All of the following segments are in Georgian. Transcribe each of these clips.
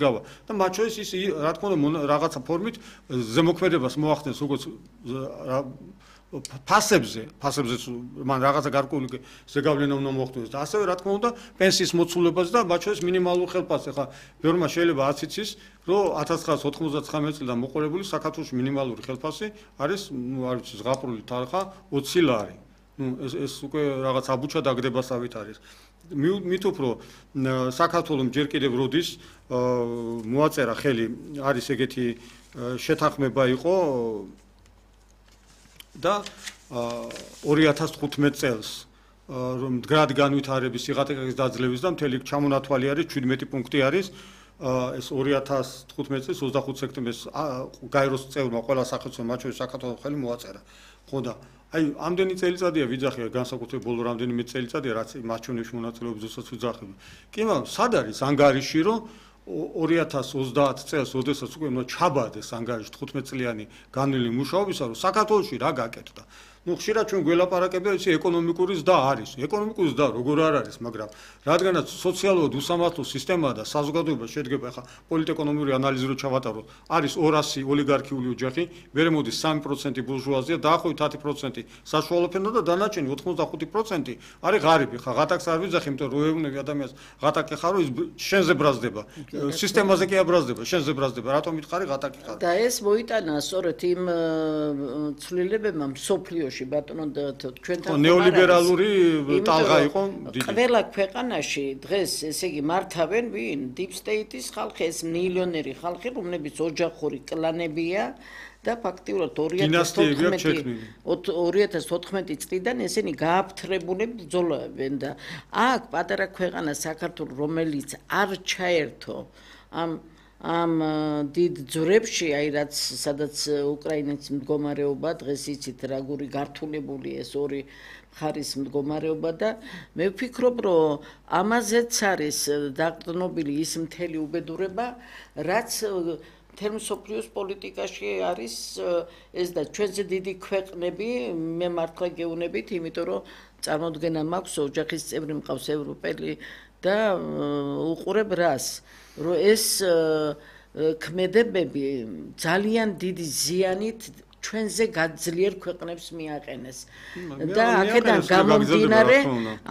გავა და მათ შორის ის რა თქმა უნდა რაღაცა ფორმით ზემოქმედებას მოახდენს როგორც ფასებზე მან რაღაცა გარკვეული ზეგავლენა უნდა მოხდეს და ასევე რა თქმა უნდა პენსიის მოცულებას და მათ შორის მინიმალურ ხელფასს. ახლა ბევრმა შეიძლება არც იცის, რომ 1999 წლიდან მოყოლებული საქართველოს მინიმალური ხელფასი არის, არ ვიცი, ზღაპრული თანხა 20 ლარი. ეს უკვე რაღაც აბუჩა დაგდებასავით არის. მით უფრო საქართველოს ჯერ კიდევ როდის მოაწერა ხელი არის ეგეთი შეთანხმება იყო და 2015 წელს რომ მდგრადი განვითარების სიღატაკის დაძლევის და მთელი ჩამონათვალი არის 17 პუნქტი არის ეს 2015 წლის 25 სექტემბერს გაეროს წევრმა ყველა სახელმწიფო მათ შორის საქართველოს ხელი მოაწერა. ხო და აი ამდენი წელიწადია ვიძახია განსაკუთრებით ბოლო რამდენიმე წელიწადია რაც მაჩვენებში მონაწილეობისას ვიძახები. კი მაგრამ სად არის ანგარიში რომ 2030 წელს ოდესაც უკვე ჩაბარდეს ანგარიში 15 წლიანი განვლილი მუშაობისა რომ საქართველოში რა გაკეთდა. ხშირად ჩვენ გველაპარაკებია ის ეკონომიკური ზრდა არის. ეკონომიკური ზრდა როგორ არ არის, მაგრამ რადგანაც სოციალურად უსამართლო სისტემაა და საზოგადოება შედგება ახლა პოლიტეკონომიური ანალიზი რო ჩავატაროთ, არის 200 ოლიგარქიული ოჯახი, მერე მოდის 3% ბურჟუაზია, დაახლოებით 10% საშუალო ფენა და დანარჩენი 85% არის ღარიბი. ხა ღატაკს არ ვიძახი, იმიტომ რომ ეუბნები ადამიანს ღატაკი ხარო ის შენზე ბრაზდება. სისტემაზე კი აბრაზდება, შენზე ბრაზდება. რატომ მითხარი ღატაკი ხარ? და ეს მოიტანა სწორედ იმ ცვლილებებმა მსოფლიოში ბატონო ჩვენთან ნეოლიბერალური ტალღა იყო დიდი. ყველა ქვეყანაში დღეს ესე იგი მართავენ ვინ? Deep State-ის ხალხი, ეს მილიონერი ხალხი, რომლებიც ოჯახური კლანებია და ფაქტიურად 2014 წლიდან ესენი გააფთრებული ბრძოლობენ და აქ პატარა ქვეყანა საქართველო, რომელიც არ ჩაერთო ამ დიდ ძვრებში, აი რაც სადაც უკრაინის მდგომარეობა დღეს იცით როგორი გართულებული ეს ორი მხარის მდგომარეობა და მე ვფიქრობ რომ ამაზეც არის დაყრდნობილი ის მთელი უბედურება რაც მთელ მსოფლიოს პოლიტიკაში არის ეს და ჩვენზე დიდი ქვეყნები მე მართლა გეუბნებით იმიტომ რომ წარმოდგენა მაქვს ოჯახის წევრი მყავს ევროპელი და უყურებ რას რომ ეს ქმედებები ძალიან დიდი ზიანით ჩვენზე გაძლიერ ქვეყნებს მიაყენეს და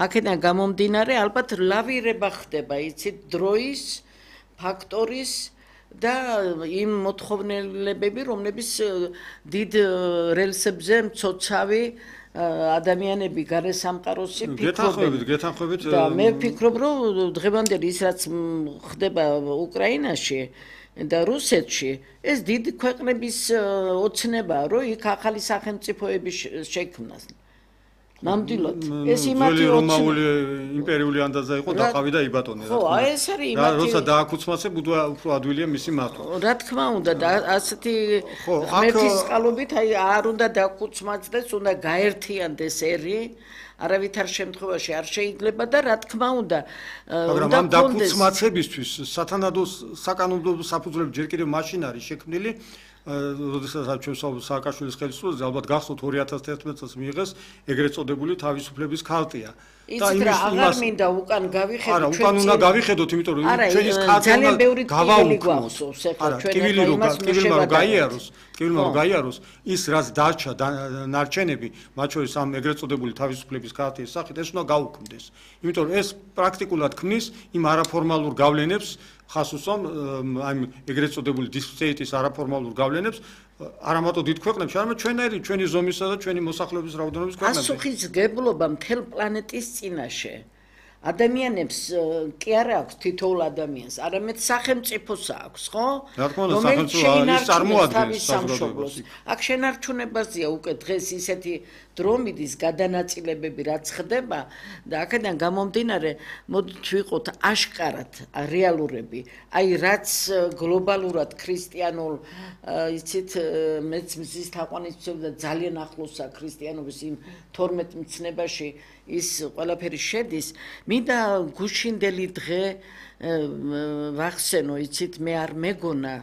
აქედან გამომდინარე ალბათ ლავირება ხდება იცით დროის ფაქტორის და იმ მოთხოვნილებები რომლებიც დიდ რელსებზე მცოცავი ადამიანები გარესამყაროსი გეთანხმებით და მე ვფიქრობ რომ დღევანდელი ის რაც ხდება უკრაინაში და რუსეთში ეს დიდი ქვეყნების ოცნებაა რომ იქ ახალი სახელმწიფოები შექმნას ნამდვილად ეს იმათი რომაული იმპერიული ანდაზა იყო დაყავი და იბატონე ხო აი ეს არის იმათი როცა დააკუცმაცებ უფრო ადვილია მისი მართვა რა თქმა უნდა და ასეთი ღმერთის წყალობით აი არ უნდა დააკუცმაცდეს უნდა გაერთიანდეს ერი არავითარ შემთხვევაში არ შეიძლება და რა თქმა უნდა მაგრამ ამ დაკუცმაცებისთვის სათანადო საკანონმდებლო საფუძვლები ჯერ კიდევ მაშინ არის შექმნილი როდესაც ჩვენ სააკაშვილის ხელისუფლებაზე ალბათ გახსოვთ 2011 წელს მიიღეს ეგრეთ წოდებული თავისუფლების ქარტია და იმას მინდა უკან გავიხედოთ არა უკან უნდა გავიხედოთ იმიტომ რომ ჩვენი ძალიან ბევრი ტკივილი გვახსოვს ახლა ჩვენ ტკივილმა რომ გაიაროს ის რაც დარჩა ნარჩენები მათ შორის ამ ეგრეთ წოდებული თავისუფლების ქარტიის სახით ეს უნდა გაუქმდეს იმიტომ რომ ეს პრაქტიკულად ქმნის იმ არაფორმალურ გავლენებს ხას უსვამ ამ ეგრეთ წოდებული დისციპლინის არაფორმალურ გავლენებს არამატო დიდ ქვეყნებში, არამედ ჩვენი ზომისა და ჩვენი მოსახლეობის რაოდენობის ქვეყნებში. პასუხისმგებლობა მთელ პლანეტის წინაშე. ადამიანებს კი არა აქვს თითოეულ ადამიანს, არამედ სახელმწიფოს აქვს, ხო? რა თქმა უნდა, სახელმწიფო ის წარმოადგენს სამშობლოს. აქ შენარჩუნებაზეა უკვე დღეს ისეთი დრომიდის გადანაწილებები რაც ხდება და აქედან გამომდინარე მოდით ვიყოთ აშკარად რეალურები. აი რაც გლობალურად ქრისტიანულ იცით მეც მზის თაყვანისმცემელი და ძალიან ახლოსა ქრისტიანობის იმ 12 მცნებაში ის ყველაფერი შედის. მინდა გუშინდელი დღე ვახსენო, იცით, მე არ მეგონა,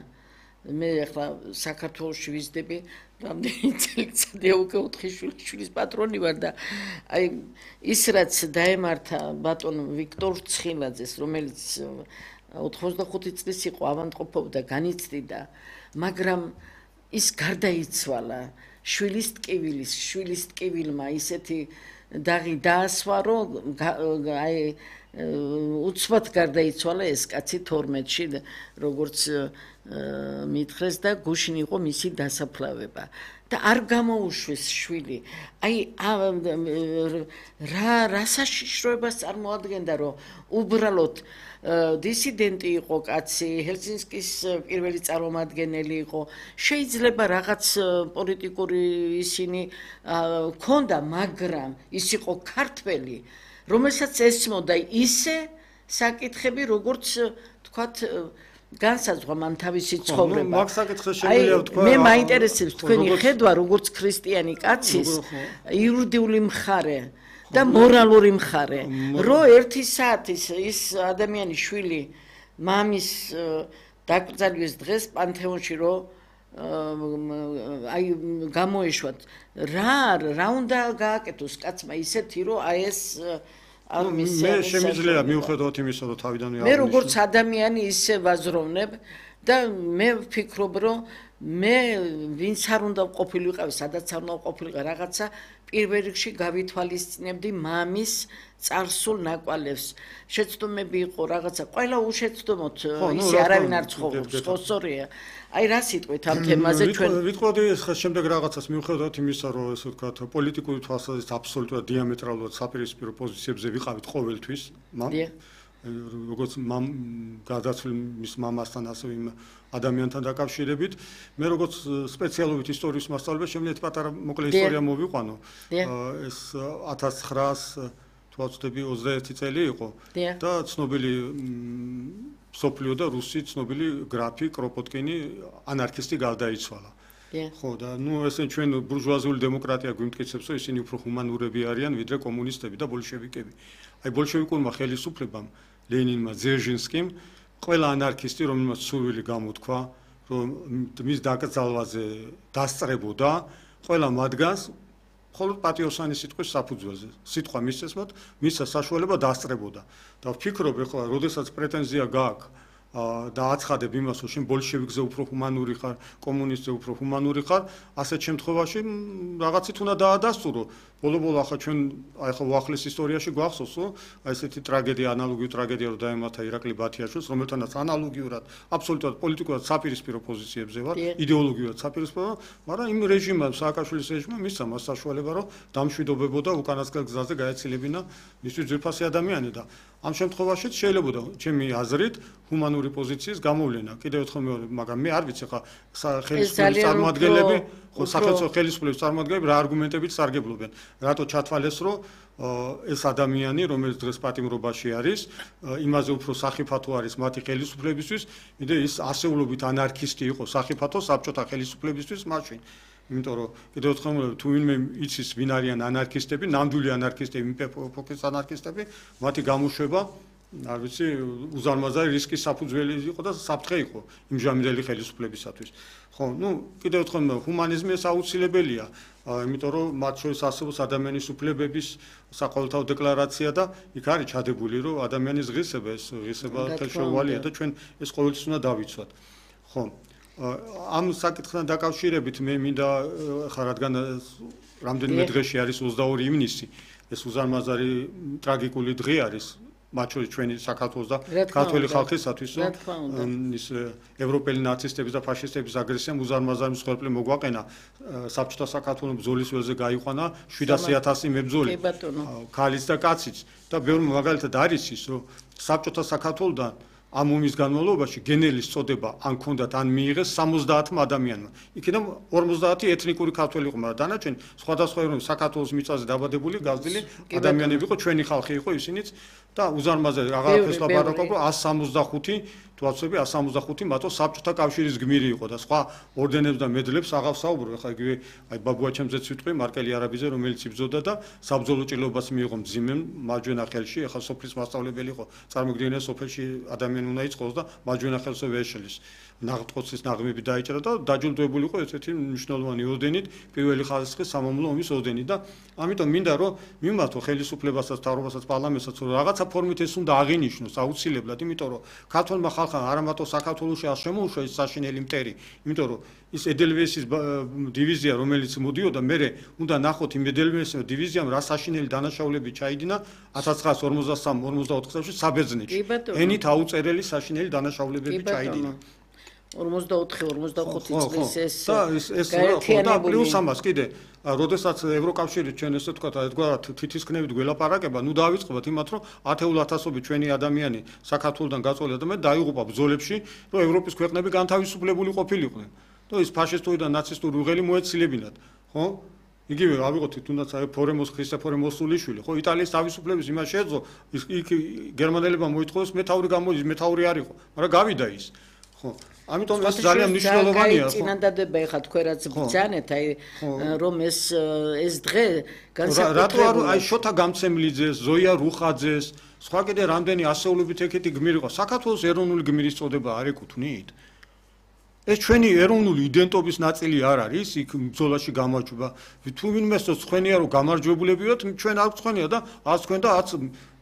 მე ახლა საქართველოში ვიზდები, რამდენი წელიწადია უკვე 4 შვილის პატრონი ვარ და აი ის რაც დაემართა ბატონ ვიქტორ ცხილაძეს, რომელიც 85 წლის იყო ავადმყოფობდა, განიცდიდა, მაგრამ ის გარდაიცვალა. შვილის ტკივილმა ისეთი დაღი დაასვა, რომ აი უცბად გარდაიცვალა ეს კაცი 12-ში, როგორც მითხრეს და გუშინ იყო მისი დასაფლავება. და არ გამოუშვეს შვილი. აი რა საშიშროებას წარმოადგენდა, რომ უბრალოდ დისიდენტი იყო კაცი, ჰელსინკის პირველი წარმომადგენელი იყო. შეიძლება რაღაც პოლიტიკური ისინი ქონდა, მაგრამ ის იყო ქართველი, რომელსაც ესმოდა ისე საკითხები, როგორც თქვათ განსაზღვრა მან თავისი ცხოვრება. მაგ საკითხს შემიძლია ვთქვა. მე მაინტერესებს თქვენი ხედვა, როგორც ქრისტიანი კაცის იურიდიული მხარე და მორალური მხარე. რო ერთი საათის ის ადამიანის შვილი მამის დაკრძალვის დღეს პანთეონში რო აი გამოეშვათ, რა უნდა გააკეთოს კაცმა ისეთი, რომ აი ეს მე შემიძლია მივხვდოთ იმისა, რომ თავიდანვე მე როგორც ადამიანი ისე ვაზროვნებ და მე ვფიქრობ, რომ მე ვინც არ უნდა ყოფილიყავ, სადაც არ უნდა ყოფილიყავ რაღაცა პირველ რიგში გავითვალისწინებდი მამის წარსულ ნაკვალევს. შეცდომები იყო რაღაცა, ყველა უშეცდომოთ ისე არავინ არ ცხოვრობს, ხო სწორია. აი რა სიტყვით ამ თემაზე ჩვენ ვიტყოდი შემდეგ რაღაცას მივხვდოთ იმისა, რომ ესე ვთქვათ, პოლიტიკური თვალსაზრისით აბსოლუტურად დიამეტრალურად საპირისპირო პოზიციებზე ვიყავით ყოველთვის, როგორც გადაცვლილ მის მამასთან, ასევე იმ ადამიანთან დაკავშირებით. მე როგორც სპეციალობით ისტორიის მასწავლებელი შემიძლია პატარა მოკლე ისტორია მოვიყვანო. ეს 1921 წელი იყო და ცნობილი სოფლიო და რუსი ცნობილი გრაფი კროპოტკინი ანარქისტი გარდაიცვალა. ხო და ესე ჩვენ ბურჟუაზიული დემოკრატია გვიმტკიცებს, რომ ისინი უფრო ჰუმანურები არიან ვიდრე კომუნისტები და ბოლშევიკები. აი ბოლშევიკურმა ხელისუფლებამ, ლენინმა, ძერჟინსკიმ, ყველა ანარქისტი, რომელმაც სურვილი გამოთქვა, რომ მის დაკრძალვაზე დასწრებოდა, ყველა მათგანს მხოლოდ პატიოსანი სიტყვის საფუძველზე. სიტყვა მისცემოთ, მისცა საშუალება დასწრებოდა. და ვფიქრობ, ეხლა, როდესაც პრეტენზია გააქვს და აცხადებ იმას, რომ შენ ბოლშევიკზე უფრო ჰუმანური ხარ, კომუნისტზე უფრო ჰუმანური ხარ, ასეთ შემთხვევაში რაღაცით უნდა დაადასტურო. ბოლო-ბოლო ახლა ჩვენ ახლა უახლეს ისტორიაში გვახსოვს, რომ აი ესეთი ტრაგედია, ანალოგიური ტრაგედია რო დაემართა ირაკლი ბათიაშვილს, რომელთანაც ანალოგიურად, აბსოლუტურად პოლიტიკურად საპირისპირო პოზიციებზე ვარ, იდეოლოგიურად საპირისპირო, მაგრამ იმ რეჟიმმა, სააკაშვილის რეჟიმმა მისცა მას საშუალება, რომ დამშვიდობებოდა უკანასკნელ გზაზე გაეცილებინა მისთვის ძვირფასი ადამიანი და ამ შემთხვევაშიც შეიძლებოდა ჩემი აზრით ჰუმანური პოზიციის გამოვლენა. კიდევ ერთხელ მეორე, მაგრამ მე არ ვიცი ხა ხელისუფლების წარმომადგენლები, ხო სახელმწიფო ხელისუფლების წარმომადგენლები რა არგუმენტებით სარგებლობენ. რატო ჩათვალეს, რომ ეს ადამიანი, რომელიც დღეს პატიმრობაში არის, იმაზე უფრო სახიფათო არის მათი ხელისუფლებისთვის, ვიდრე ის ასეულობით ანარქისტი იყო სახიფათო საბჭოთა ხელისუფლებისთვის მაშინ. იმიტომ რომ კიდევ ერთხელ თუ ვინმე იცის ვინ არიან ანარქისტები, ნამდვილი ანარქისტები, ეპოქის ანარქისტები, მათი გამოშვება არ ვიცი, უზარმაზარი რისკის საფუძველი იყო და საფრთხე იყო იმჟამირელი ხელისუფლებისათვის. ხო, კიდევ ერთხელ ჰუმანიზმი ეს აუცილებელია, იმიტომ რომ მათ შორის არსებობს ადამიანის უფლებების საყოველთაო დეკლარაცია და იქ არის ჩადებული, რომ ადამიანის ღირსება ეს ღირსება ხელშეუვალია და ჩვენ ეს ყოველთვის უნდა დავიცვათ. ხო. ამ საკითხთან დაკავშირებით მე მინდა ხა რადგან რამდენიმე დღეში არის 22 ივნისი, ეს უზარმაზარი ტრაგიკული დღე არის მათ შორის ჩვენი საქართველოს და ქართული ხალხისათვის, რომ ის ევროპელი ნაცისტების და ფაშისტების აგრესიამ უზარმაზარი მსხვერპლი მოგვაყენა. საბჭოთა საქართველოს ბრძოლის ველზე გაიყვანა 700,000 მებრძოლი, ქალიც და კაციც და ბევრი მაგალითად არის ის, რომ საბჭოთა საქართველოსთან ამ ომის განმავლობაში გენერლის წოდება ან ქონდათ ან მიიღეს 70 ადამიანმა. იქიდან 50 ეთნიკური ქართველი იყო, მაგრამ დანარჩენი სხვადასხვა ეროვნების საქართველოს მიწაზე დაბადებული, გაზრდილი ადამიანები იყო, ჩვენი ხალხი იყო ისინიც და უზარმაზარი აღარაფერს ლაპარაკობ, 165 თუ აცები 165 მათო საბჭოთა კავშირის გმირი იყო და სხვა ორდენებს და მედლებს აღარ საუბრობ. ეხლა იგივე აი ბაბუაჩემზეც ვიტყვი მარკელი არაბიზე, რომელიც იბრძოდა და საბრძოლო ჭრილობას მიიღო მძიმემ მარჯვენა ხელში. ეხლა სოფლის მასწავლებელი იყო, წარმოგიდგენია სოფელში ადამიანი უნდა იწყოს და მარჯვენა ხელზე ვეშლის. ნაღდყოცის ნაღმები დაიჭრა და დაჯილდოებული იყო ესეთი მნიშვნელოვანი ორდენით, პირველი ხარისხის სამამულო ომის ორდენით და ამიტომ მინდა რომ მიმართო ხელისუფლებასაც, მთავრობასაც, პარლამენტსაც რომ რაღაცა ფორმით ეს უნდა აღინიშნოს აუცილებლად, იმიტომ რომ ქართულმა ხალხმა არა მარტო საქართველოში არ შემოუშვა ეს საშინელი მტერი, იმიტომ რომ ის ედელვესის დივიზია რომელიც მოდიოდა, მე უნდა ნახოთ იმ ედელვესის დივიზიამ რა საშინელი დანაშაულები ჩაიდინა 1953-54 წელს საბერძნეთში. ენით აუწერელი საშინელი დანაშაულებები ჩაიდინა. 44-45 წლის ეს და პლუს ამას კიდე როდესაც ევროკავშირი ჩვენ ესე ვთქვათ ერთგვარად თითისქნებით გველაპარაკება, ნუ დავიწყებოთ იმათ რომ ათეულათასობით ჩვენი ადამიანი საქართველოსთან გაწოლილი ადამიანები დაიღუპა ბრძოლებში, რომ ევროპის ქვეყნები განთავისუფლებული ყოფილიყვნენ. და ის ფაშისტური და ნაცისტური უღელი მოეცილებინათ, ხო? იგივე ავიღოთ თუნდაც ქრისტეფორე მოსულიშვილი, ხო, იტალიის თავისუფლების იმას შეეძლო, იქ გერმანელებმა მოითხოვეს მეთაური გამოდის, მეთაური არ იყო, მაგრამ გავიდა ის. ხო, ამიტომ ეს ძალიან მნიშვნელოვანია, ხო? წინადადება ეხა თქვენ რაც ბრძანეთ, აი რომ ეს დღე რატო არ აი შოთა გამცემლიძეს, ზოია რუხაძეს, სხვა კიდე რამდენი ასეულობით ეგეთი გმირი იყო, საქართველოს ეროვნული გმირის წოდება არ ეკუთვნით? ეს ჩვენი ეროვნული იდენტობის ნაწილი არ არის, იქ ბრძოლაში გამარჯვება. თუ ვინმეს ცხენია რომ გამარჯვებულები ვართ, ჩვენ არ ცხენია და არც თქვენ და არც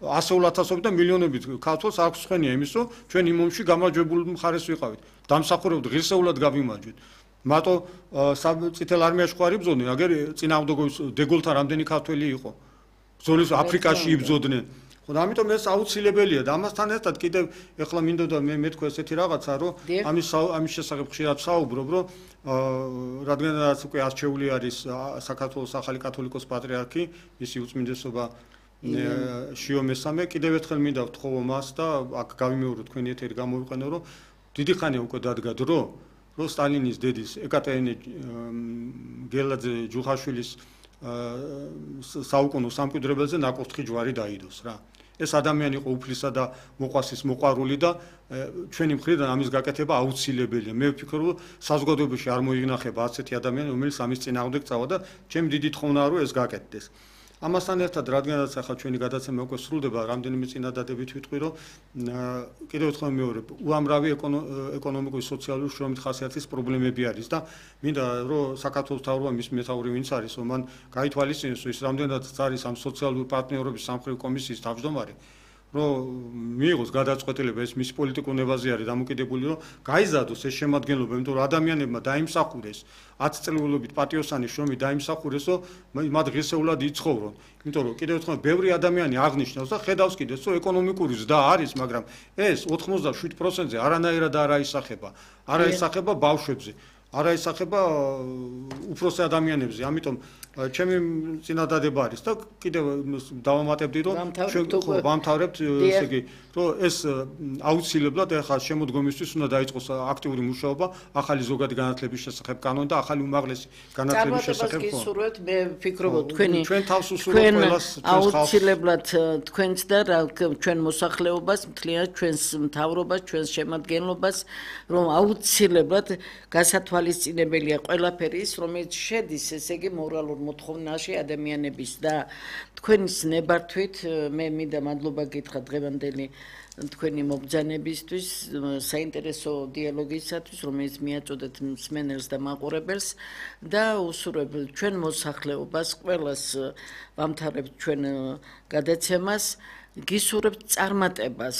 ასეულათასობით და მილიონობით ქართველს არ ცხენია იმის, რომ ჩვენ იმ ომში გამარჯვებული მხარეს ვიყავით. დამსახურებთ ღირსეულად გავიმარჯვეთ. მარტო წითელ არმიაში ხო არ იბრძოდნენ, აგერ წინააღმდეგობის დეგოლთან რამდენი ქართველი იყო. ბრძოლის აფრიკაში იბრძოდნენ. ხო, ამიტომ ეს აუცილებელია და ამასთან ერთად კიდევ ეხლა მინდოდა მე თქვა ესეთი რაღაცა, რომ ამის შესახებ ხშირად საუბრობ, რომ რადგანაც უკვე არჩეული არის საქართველოს ახალი კათოლიკოს პატრიარქი, მისი უწმინდესობა შიო მესამე, კიდევ ერთხელ მინდა ვთხოვო მას და აქ გავიმეორო თქვენი ეთერი გამოვიყენო, რომ დიდი ხანია უკვე დადგა დრო, რომ სტალინის დედის ეკატერინე გელაძე ჯუხაშვილის საუკუნო სამკვიდრებელზე ნაკურთხი ჯვარი დაიდოს რა. ეს ადამიანი იყო უფლისა და მოყვასის მოყვარული და ჩვენი მხრიდან ამის გაკეთება აუცილებელია. მე ვფიქრობ, რომ საზოგადოებაში არ მოინახება ასეთი ადამიანი, რომელიც ამის წინააღმდეგ წავა და ჩემი დიდი თხოვნაა, რომ ეს გაკეთდეს. ამასთან ერთად, რადგანაც ახლა ჩვენი გადაცემა უკვე სრულდება, რამდენიმე წინადადებით ვიტყვი, რომ კიდევ ერთხელ მეორე, უამრავი ეკონომიკური, სოციალური, შრომით ხასიათის პრობლემები არის და მინდა რომ საქართველოს მთავრობა მის მეთაური ვინც არის, რომ მან გაითვალისწინოს, ის რამდენადაც არის ამ სოციალური პარტნიორობის სამხრივ კომისიის თავმჯდომარე, რომ მიიღოს გადაწყვეტილება ეს მის პოლიტიკურ ნებაზე არის დამოკიდებული, რომ გაიზარდოს ეს შემადგენლობა, იმიტომ რომ ადამიანებმა დაიმსახურეს 10 წელიწადობით პატიოსანი შრომით დაიმსახურეს, რომ მათ ღირსეულად იცხოვრონ. იმიტომ რომ კიდევ ერთხელ ბევრი ადამიანი აღნიშნავს და ხედავს კიდეც, რომ ეკონომიკური ზრდა არის, მაგრამ ეს 87%-ზე არანაირად არ აისახება. არ აისახება ბავშვებზე, არ აისახება უფროსი ადამიანებზე. ამიტომ ჩემი წინადადება არის და კიდევ დავამატებდი, რომ ჩვენ ვამთავრებთ, ესე იგი, რომ ეს აუცილებლად ახლა შემოდგომისთვის უნდა დაიწყოს აქტიური მუშაობა ახალი ზოგადი განათლების შესახებ კანონი და ახალი უმაღლესი განათლების შესახებ კანონი. გისურვებთ, მე ვფიქრობ, ჩვენ თავს უსურვებთ ყველას აუცილებლად თქვენც და ჩვენ მოსახლეობას, მთლიანად ჩვენს მთავრობას, ჩვენს შემადგენლობას, რომ აუცილებლად გასათვალისწინებელია ყველაფერი ის, რომელიც შედის, ესე იგი, მორალურ მოთხოვნაში ადამიანების და თქვენის ნებართვით მე მინდა მადლობა გითხრა დღევანდელი თქვენი მობრძანებისთვის, საინტერესო დიალოგისათვის, რომელიც მიაწოდეთ მსმენელს და მაყურებელს და უსურვებ ჩვენ მოსახლეობას, ყველას ვამთავრებთ ჩვენ გადაცემას, გისურვებთ წარმატებას,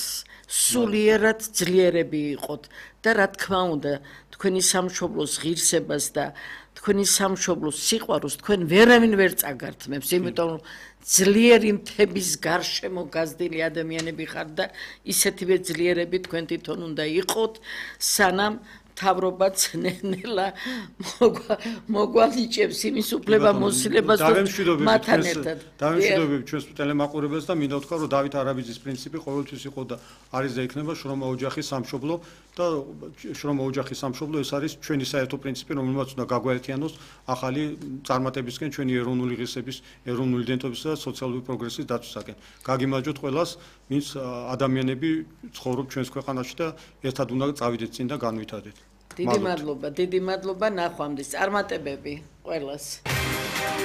სულიერად ძლიერები იყოთ და რა თქმა უნდა, თქვენი სამშობლოს ღირსებას და თქვენი სამშობლოს სიყვარულს თქვენ ვერავინ ვერ წაგართმევს, იმიტომ რომ ძლიერი მთების გარშემო გაზრდილი ადამიანები ხართ და ისეთივე ძლიერები თქვენ თვითონ უნდა იყოთ, სანამ მთავრობაც ნელა მოგვალიჭებს იმის უფლება მოსილებას მათთან ერთად. დავემშვიდობებით ჩვენს ტელემაყურებელს და მინდა ვთქვა, რომ დავით არაბიძის პრინციპი ყოველთვის იყო და არის და იქნება შრომა ოჯახის სამშობლო და შრომა ოჯახის სამშობლო ეს არის ჩვენი საერთო პრინციპი, რომელმაც უნდა გაგვაერთიანოს ახალი წარმატებისკენ ჩვენი ეროვნული ღირსების, ეროვნული იდენტობისა და სოციალური პროგრესის დაცვისაკენ. გაგიმარჯვოთ ყველას, ვინც ადამიანები ცხოვრობ ჩვენს ქვეყანაში და ერთად უნდა წავიდეთ წინ და განვითარდეთ. დიდი მადლობა, ნახვამდის წარმატებები ყველას.